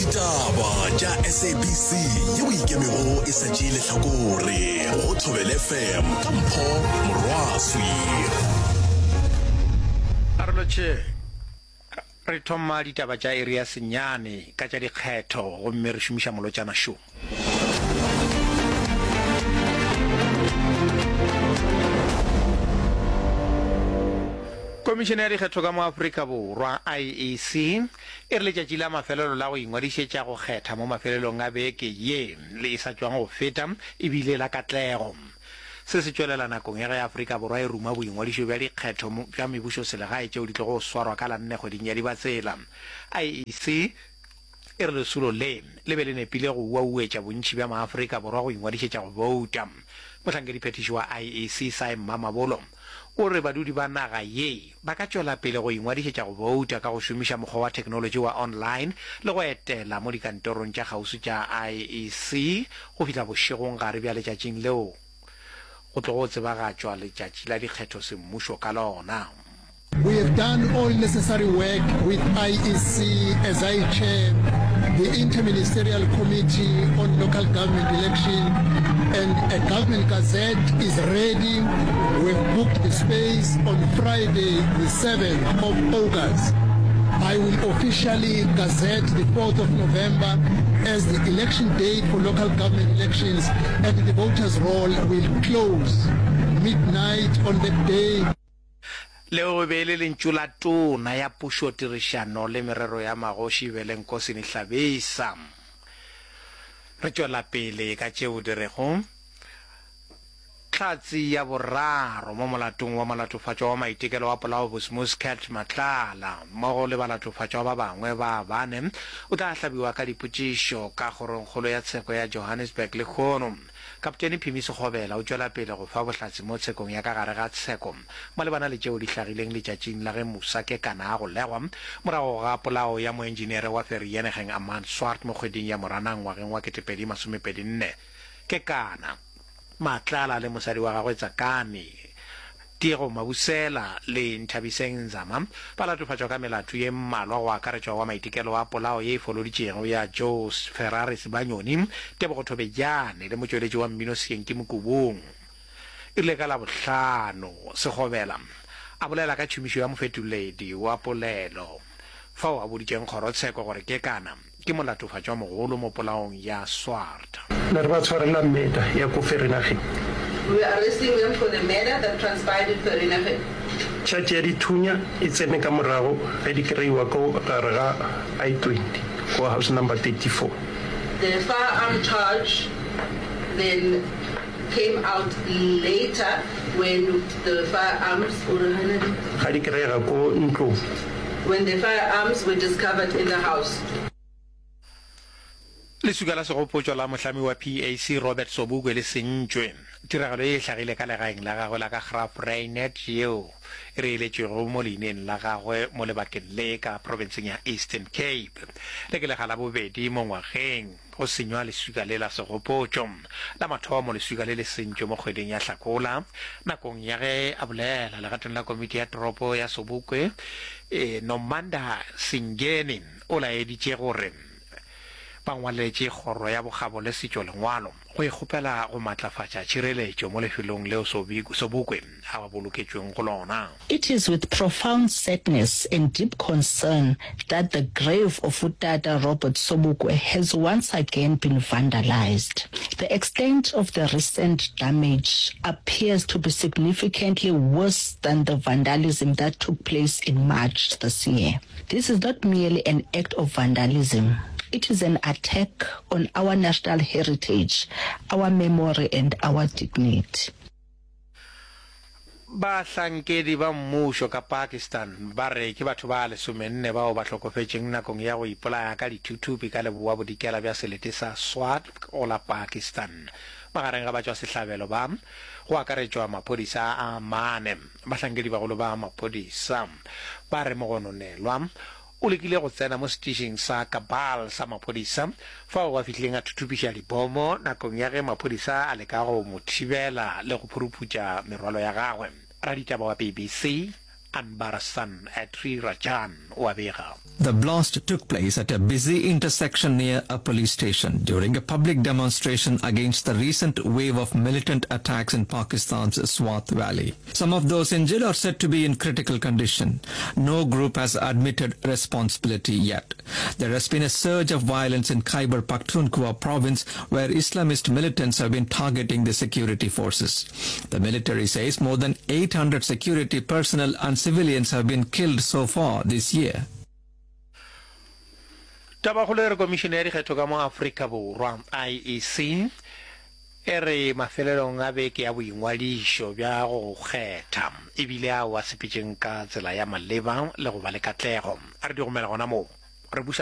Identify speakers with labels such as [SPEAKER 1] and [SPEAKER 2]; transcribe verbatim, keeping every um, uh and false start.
[SPEAKER 1] Ditaba tša S A B C yeo ikemego e sa tšee lehlakore go Thobela F M ka Mpho Morwaswi.
[SPEAKER 2] Arolotše re thoma ditaba tša iri ya senyane ka tša dikgetho gomme re šomiša molotšana šo. Komišene ya Dikgetho ka mo Afrika Borwa, I E C, e re letšatši la mafelelo la go ingwadišetša go kgetha mo mafelelong a beke ye le e sa tšwang go feta e bile la katlego. Se se tšwelela nakong ya ge Afrika Borwa e ruma boingwadišo bja dikgetho bja mebušoselegae tšeo di tlogo swarwa ka la nne kgweding ya Dibatsela. I E C e re lesolo le le be le nepile go uauetša bontši bja maAfrika Borwa go ingwadišetša go bouta. Mohlankediphethiši wa I E C Sy Mamabolo o re badudi ba naga ye ba ka tšwela pele go ingwadišetša go bouta ka go šomiša mokgwa wa theknolotši wa online le go etela mo dikantorong tša kgauswi tša I E C go fihla bošegong gare bja letšatšing leo go tlogo tsebagatšwa letšatši la dikgetho semmušo ka lona.
[SPEAKER 3] We have done all necessary work with I E C as I chair the Interministerial Committee on Local Government Election, and a government gazette is ready. We've booked the space on Friday the seventh of August. I will officially gazette the fourth of November as the election date for local government elections, and the voters roll will close midnight on that day.
[SPEAKER 2] Leo e be e le lentšu la Tona ya Pušo, Tirišano le Merero ya Magoši Velenkosini Hlabisa. Re tšwela pele ka tšeo di rego hlatse ya boraro mo molatong wa molatofatšwa wa maitekelo wa polao Bosmus Cat Matlala mmogo le balatofatšwa ba bangwe ba bane o tla hlabiwa ka dipotšišo ka kgorongkgolo ya tsheko ya Johannesburg lehono. Kaptene Phimi Sekgobela o tšwela pele go fa bohlatse mo tshekong ya ka gare ga tsheko malebana le tšeo di hlagileng letšatšing la ge Musa Kekana a golegwa morago ga polao ya moenjiniere wa Vereeniging Armand Swart mo kgweding ya Moranang ngwageng wa ketepedi masomepedi nne. Kekana, Matlala le mosadi wa gagwe Tsakani, Tiego Mabusela le Nthabiseng Nzama ba latofatšwa ka melato ye mmalwa go akaretšwa wa maitekelo a polao ye e foloditšego ya Joe Ferrari Sibanyoni, Tebogo Thobejane le motšweletši wa mmino Sekenke Mokubung. E rile ka Labohlano Sekgobela a bolela ka tšhomišo ya mofetoledi wa polelo fao a boditšeng kgorotsheko gore Kekana ke molatofatšwa mogolo mo polaong ya Swart.
[SPEAKER 4] Ne re ba tshwarela murder ya ko Vereeniging.
[SPEAKER 5] We were arresting them for the murder that transpired in Vereeniging.
[SPEAKER 4] Charge ya dithunya e tsene ka morago ge di kreiwa ko gare ga I twenty ko house number thirty-four.
[SPEAKER 5] The firearm charge then came out later when the firearms
[SPEAKER 4] Ga di kreiga ko ntlong.
[SPEAKER 5] When the firearms were discovered in the house.
[SPEAKER 2] Leswika la segopotšo la mohlami wa P A C Robert Sobukwe le sentšwe. Tiragalo ye e hlagile ka legaeng la gagwe la ka Graaff-Reinet yeo e reeletšwego mo leineng la gagwe mo lebakeng le ka profenseng ya Eastern Cape. Le ke lega la bobedi mo ngwageng go senywa leswika le la segopotšo. La mathomo leswika le le sentšwe mo kgweding ya Hlakola nakong ya ge a bolela legatong la komiti ya toropo ya Sobukwe, Nomanda Singeni o laeditše gore ba ngwaletše kgoro ya bokgabo le setšo lengwalo go e kgopela go matlafatša tšhireletšo mo lefelong leo Sobukwe a boloketšweng go lona.
[SPEAKER 6] It is with profound sadness and deep concern that the grave of Utata Robert Sobukwe has once again been vandalized. The extent of the recent damage appears to be significantly worse than the vandalism that took place in March this year. This is not merely an act of vandalism. It is an attack on our national heritage, our memory and our dignity.
[SPEAKER 2] Bahlankedi ba mmušo ka Pakistan ba re ke batho ba lesomenne bao ba hlokofetšeng nakong ya go ipolaya ka dithuthupi ka leboa bodikela bja selete sa Swat go la Pakistan. Magareng ga batšwasehlabelo ba go akaretšwa maphodisa a mane. Bahlankedi bagolo ba maphodisa ba re mogononelwa o lekile go tsena mo setišing sa Kabal sa maphodisa fao a fihlileng a thuthupiša dibomo nakong ya ge maphodisa a leka go mo thibela le go phuruphutša merwalo ya gagwe. Raditaba wa B B C Anbarasan Sri Rajan o a bega.
[SPEAKER 7] The blast took place at a busy intersection near a police station during a public demonstration against the recent wave of militant attacks in Pakistan's Swat Valley. Some of those injured are said to be in critical condition. No group has admitted responsibility yet. There has been a surge of violence in Khyber Pakhtunkhwa province where Islamist militants have been targeting the security forces. The military says more than eight hundred security personnel and civilians have been killed so far this year.
[SPEAKER 2] Tabakgolo e re Komišene ya Dikgetho ka mo Afrika Borwa, I E C, e re mafelelong a beke ya boingwadišo bja go kgetha e bile ao a sepetšeng ka tsela ya maleba le go ba le katlego. A re di gomela gona moo re buša.